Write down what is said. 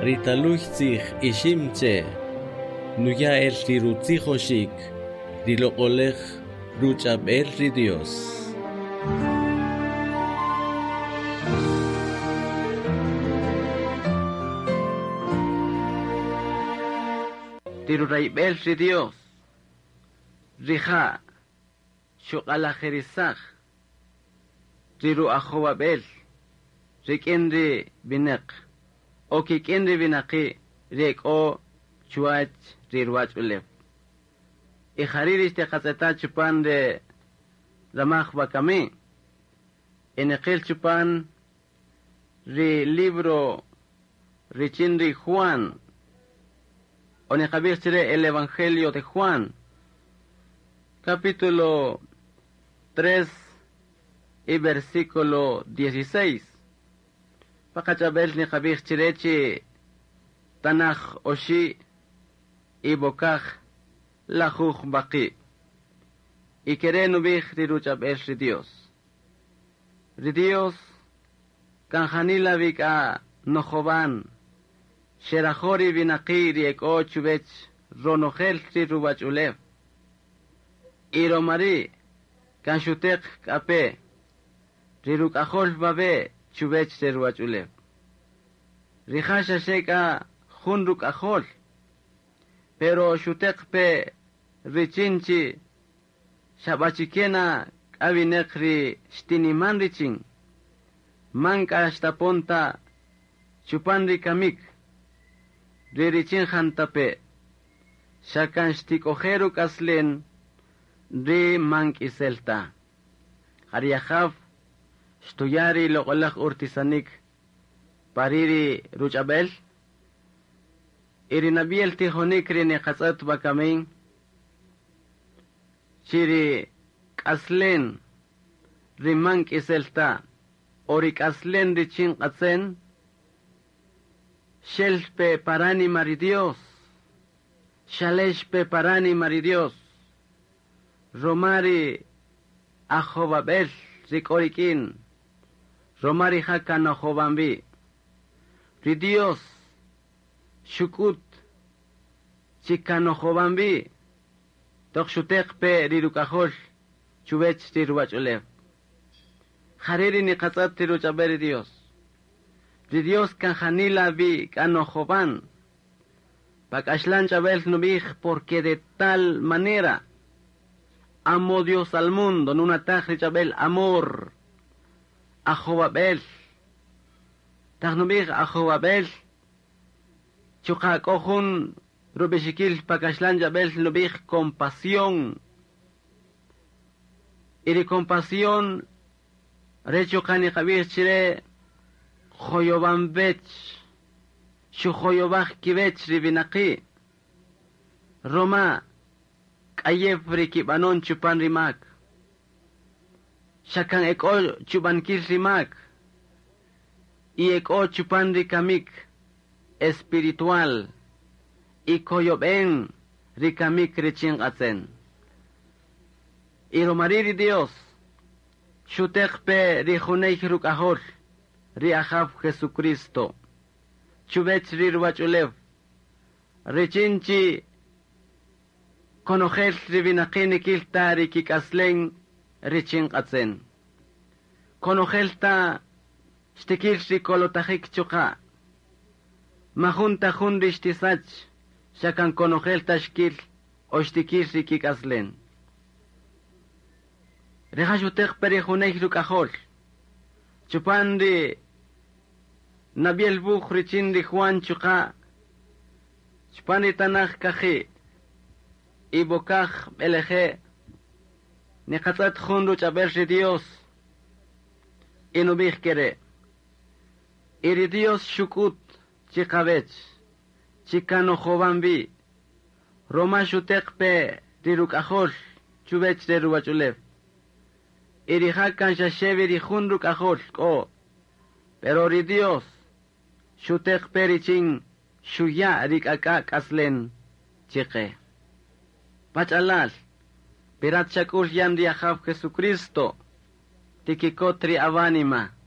Ri taluy tzij ixim che' nuya' el ri rutzijoxik ri loq'oläj ruch'ab'el ri Dios. Ri rurayb'el ri Dios, rija' xuq'alajirisaj ri ru'ajowab'el rik'in ri winäq o kik'in ri winaqi' ri e k'o chuwäch ri ruwach'ulew. Y jari' ri xtiqatz'eta' chupan re ramaj wakami, y niqil chupan ri libro richin ri Juan, o niqab'ij chire el Evangelio de Juan, capítulo 3 y versículo 16. Pa qach'ab'el niqab'ij chire chi tanaj oxi' y bokaj lajuj b'aqi'. Y kere' nub'ij ri ruch'ab'el ri Dios. Ri Dios kan janila wi k'a nojowan, xerajo' ri winaqi' ri e k'o chuwech ronojel ri ruwach'ulew. Y roma ri' kan xuteq k'a pe ri ruk'ajol wawe' chuwech re ruwach'ulew. Rija' xaxe k'a jun ruk'ajol, pero xuteq pe richin chi Xab'achike na k'a winäq ri xtiniman richin, man k'a xtapon ta chupan ri kamik ri richin jantape', xa kan xtik'oje' ruk'aslen ri man k'isel ta. Ja ri Ajaw xtuya' ri loq'oläj urtisanik pa ri' ri ruch'ab'el y ri nab'yel tijonik ri niqatz'ët wakami. Chi ri k'aslen ri man k'isel ta o ri k'aslen richin q'atzen, xel pe pa ránima ri Dios, xalex pe pa ránima ri Dios, roma ri ajowab'el ri k'o rik'in, roma rija' kan nojowan wi. Ri Dios xuk'ut chi kan nojowan wi toq xuteq pe ri Ruk'ajol chuwech ri ruwach'ulew. Jare' ri niqatz'ët ri ruch'ab'el ri Dios. Ri Dios kan janila wi k'a nojowan. Pa k'axlan ch'ab'el nub'ij porque de tal manera amó Dios al mundo, nunataj ri ch'ab'el amor, ajowab'el. Taq nub'ij ajowab'el, chuqa' k'o jun Rub'ixikil pa kaxlan ch'ab'äl nub'ij compasión. Y ri compasión re' chuqa' niqab'ij chi re' joyowan wech, xujoyowaj kiwech ri winaqi' ruma k'ayew ri kib'anon chupan ri mak. Xa kan e k'o chub'ankil ri mak y e k'o chupan ri kamik espiritual y koyob'en ri kamik richin q'atzen. Y romari' ri Dios xuteq pe ri juney Ruk'ajol, ri Ajaw Jesucristo, chuvech ri ruwach'ulew, richin chi konojel ri winaqi' nikil ta ri kik'aslen richin q'atzen. Konojel ta xtikil ri kolotajik chuqa'. Majun ta jun ri xtisach, xa kan konojel ta xkil o xtikil ri kik'aslen. Rija' xuteq pe ri juney ruk'ajol. Chupan ri nab'yel wuj richin ri Juan chuqa' chupan ri tanaj kaji' y bokaj b'eleje' niqatz'ët jun ruch'ab'el ri Dios y nub'ij kere', Y ri Dios xuk'ut chiqawech chi kan nojowan wi, roma xuteq pe ri Ruk'ajol chuwech re ruwach'ulew. Y rija' kan xaxe wi ri jun Ruk'ajol k'o, pero ri Dios xuteq pe richin xuya' ri k'ak'a' k'aslen chiqe. Pach'alal, wi rat xak'ul yan ri Ajaw Jesucristo, tikikot ri awánima.